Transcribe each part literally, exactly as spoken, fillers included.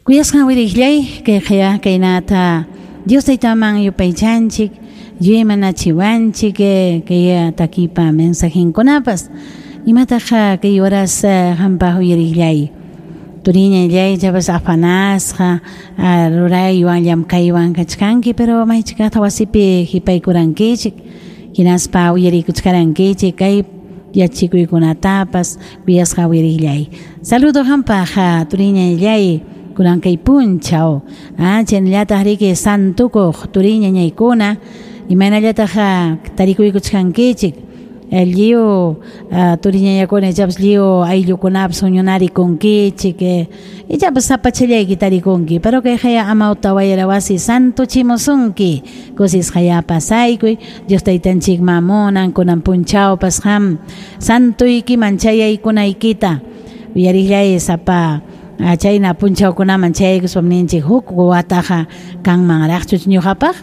Kuyasqan wiriqllay kayqaya kaynata Dios taytaman yupaychanchik yuymanachiwanchik kay takipa mensajenkunapas imataq kay horas hampaq uyariqllay turiñallay chapas afanasqa ruraywan llamkaywan kachkanki pero maychikaqta wasipi hipaykurankichik hinaspa uyarikuchkarankichik kay yachikuykunatapas kuyasqa uyariqllay. Saludo hampaq turiñallay kunan kay punchaw ah chaynallataq riki santukuq turiñañaykuna imaynallataq tarikuykuchkankichik lliw turiñañakuna ichapas lliw ayllukunapas huñunarikunkichik ichapas sapachallayki tarikunki pero kayqaya amawta wayra wasi santuchimusunki kusisqaya pasaykuy Dios taytanchikman munan kunan punchawpas qam santuykiman chayaykunaykita uyariqllay sapa chayna punchawkunaman chayaykuspam ninchik huk wataqa kanmanraqchu ñuqapaq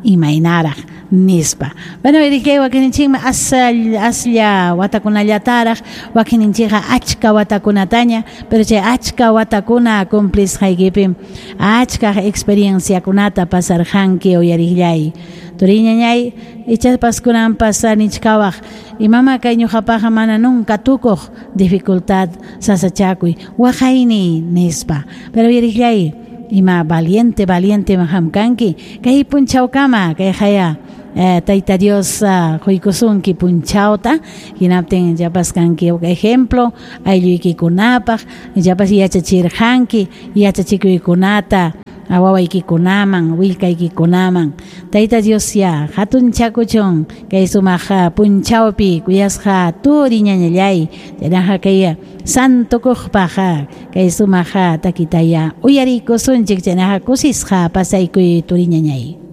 imaynaraq nispa. Bueno, uyariqllay wakininchikmi aslla watakunallataraq wakininchikqa achka watakunataña pero chay achka watakuna cumplisqaykipim achka experienciakunata pasarqanki uyariqllay. Turiñañay ichapas kunanpas nichkawaq imama kay ñuqapaqqa mana nunca tukuq dificultad sasachakuy waqayni nispa. Pero uyariqllay ima valiente valiente hamkanki kay punchawkama kay haya eh, tayta Dios uh, quykusunki punchawta hinaptin ichapas kanki ejemplo aylluykikunapaq ichapas yachachirqanki yachachikuykunata wawaykikunaman willkaykikunaman tayta Dios ya hatunchakuchun kay sumaq punchawpi kuyasqa turiñañallay chaynaqa kay santukuqpaq kay sumaq takitaya uyarikusunchik chaynaqa kusisqa pasaykuy turiñañay.